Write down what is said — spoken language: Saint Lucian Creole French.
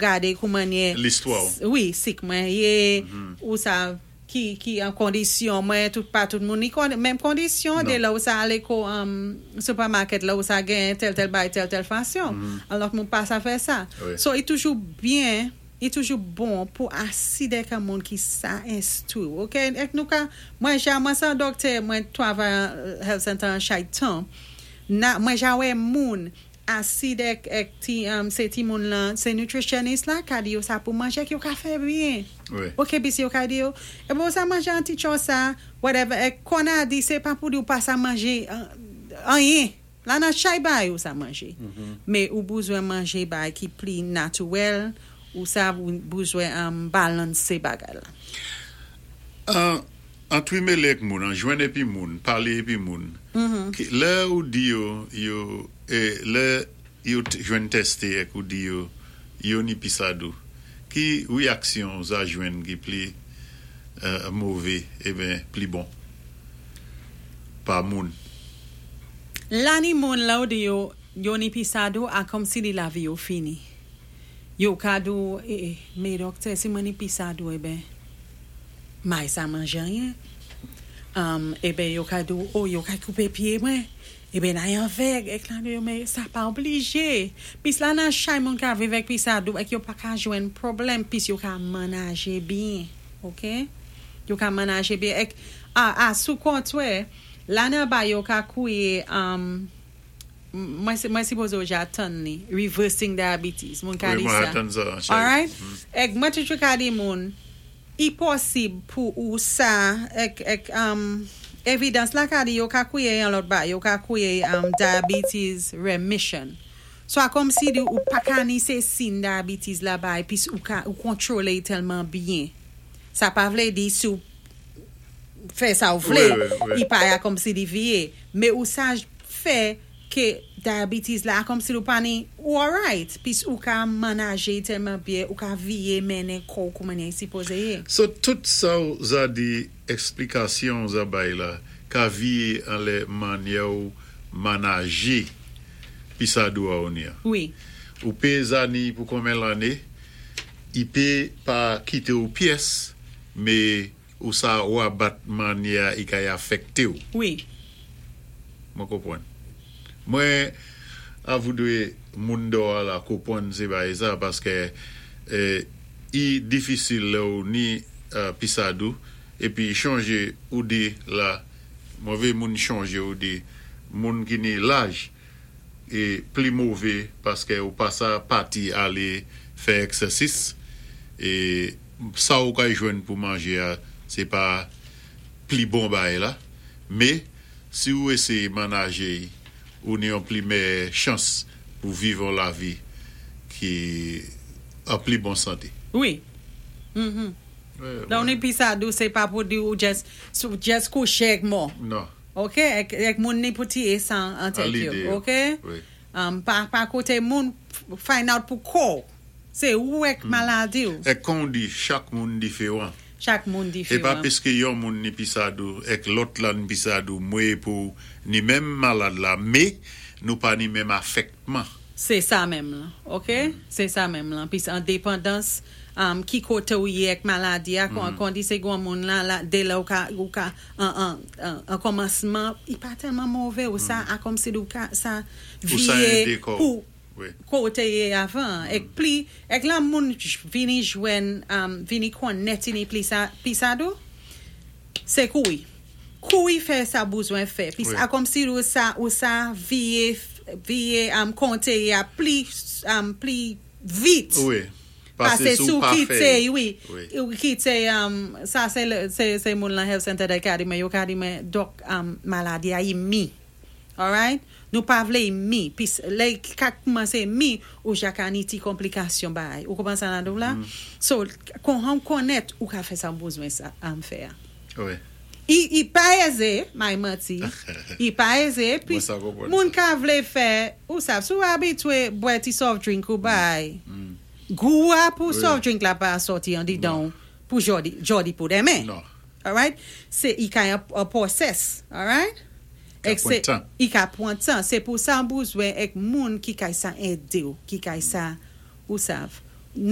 gadé koumannyè Listwa ou. Wi, sik mwen yé, ou sa ki ki an kondisyon mwen, tout pa tout moun ni kon menm kondisyon dé lè ou sa alé ko supermarket la ou sa genyen tèl tèl bagay tèl tèl fasyon. Alò moun pa sa fè sa. So i toujou byen, i toujou bon pou asi dèk an moun ki sa enstwi ou, ok. Èk nou ka, mwen ja mwen sé an dòktè, mwen twavay an health center an chay tan, na mwen ja wè moun asi dèk èk ti sé ti moun lan, sé nutritionist la ka di yo sa pou manjé èk yo ka fè byen. Ok, pi si yo ka di yo, ebyen ou sa manje an ti tchò sa, whatever, èk kon a di sé pa pou di ou pa sa manje anyen. La nan chay bagay ou sa manje. Mé ou bouzwen manje bagay ki pli natuwèl, ou sa bouzwen balansé bagay la. Antwimélé èk moun, an jwenn épi moun, palé épi moun, lè ou di yo, yo, lè yo jwenn tèsté èk ou di yo, yo ni pisadou, ki wéyaksyon ou sa jwenn ki pli mové eben pli bon pa moun? La ni moun lè ou di yo, yo ni pisadou a kòmsi di lavi yo fini. Yo ka di ou, e, mé dòktè, si mwen ni pisadou eben, may sa manje anyen. Eben yo ka di ou, oh, yo ka koupé pyé mwen. Eben ay avèg, èk la di yo, mé sa pa oblijé. Pis la nan chay moun ka viv èk pisadou, èk yo pa ka jwenn pwoblèm, pis yo ka manaje byen. Ok? Yo ka manaje byen. Èk, a, a, sou kontwè, la nan ba yo ka kouwé, mwen mwen sipoze ou ja tann li, reversing diabetes. Moun ka di sa. Mwen tann sa. Alright? Èk mwen toujou ka di moun, i posib pou ou sa, èk, èk, evidans la ka di yo ka kouwé yon lòt ba, yo ka kouwé diabetes remission. So a kòmsi di ou pa ka ni sé sin diabetes la bay, pis ou ka, ou kontwolé tèlman byen. Sa pa vlé di si ou fè sa ou vlé, i pa ya kòmsi di viyé. Mé ou sa fè ké diabetes la, a kòmsi ou pa ni, ou alright, pis ou ka manaje tèlman byen, ou ka viyé mennen kò ou koumannyè i sipoze yé. So tout sa ou za di, èsplikasyon ou za bay la, ka viyé anlè mannyè ou manaje pisadou a ou ni an. Wi. Ou pé za ni pou konmen lanné, i pé pa kité ou pyès, mé ou sa wabat mannyè a i kay afèkté ou. Wi. Mwen konpwann. Mwen a voudwé moun dò a la konpwann sé bagay sa paskè i difisil lè ou ni pisadou épi chonje ou di la mwen vé moun chonje ou di moun ki ni laj e pli mové paskè ou pa sa pati alé fè èksèsis e sa ou kay jwenn pou manje a sé pa pli bon bagay la mé si ou éséyé manaje ou ni yon pli mèyè chans pou viv yon lavi ki an pli bon santé. Wi. Lè ou ni pisadou sé pa pou di ou just just kouché èk mò. Non. Ok, èk èk moun ni pou tiyé sa an tèt yo. Ok? Pa pa kouté moun find out pou kò ou. Sé ou èk maladi ou. Èk kon ou di chak moun diféwan. Chak moun É pa diféwan. piské yon moun ni pisadou èk lòt la ni pisadou mwé pou ni menm malad la mé nou pa ni menm afèktman. Sé sa menm lan. Ok? Sé sa menm lan. Pis an dépandans ki koté ou yé èk maladi a, kon kon di sé gon moun la la dé lè ou ka ou ka an an an kòmansman i pa tèlman mové ou sa a kòmsi ou ka sa Ou sa viyé édé kò ou. pou Wi. koté yé avan. Èk pli èk la moun vini jwenn vini konnèt i ni pli sa pisadou, sé kouri. Kouri fè sa bouzwen fè. Pis a kòmsi ou sa ou sa viyé viyé konté yé a pli pli vit. Wi. Pasé Pasé si si ou ou pa kité fè. wi, Wi. ou kité sa sé sé sé moun lan health center ka di mwen, yo ka di mwen dòk maladi a i mi. Alright? Nou pa vlé i mi. Pis lè i ka koumansé mi, ou ja ka ni ti konplikasyon bagay. Ou konprann sa n ap di ou la? So, kon ou konnèt, ou ka fè sa ou bouzwen sa fè a. Wi. I i pa ézé, may manti. I pa ézé, Mwen pis sa konprann moun sa. ka vlé fè, ou sav, si ou abitwé bwè ti soft drink ou bay, gou a pou soft drink la pa sòti andidan Non. ou pou jòdi, jòdi pou denmen. Non. Alright? Sé i ka yon an pwosès. Alright? Ka Èk sé pwan tan. I ka pwan tan. Sé pou sa ou bouzwen èk moun ki kay sa édé ou, ki kay sa ou sav.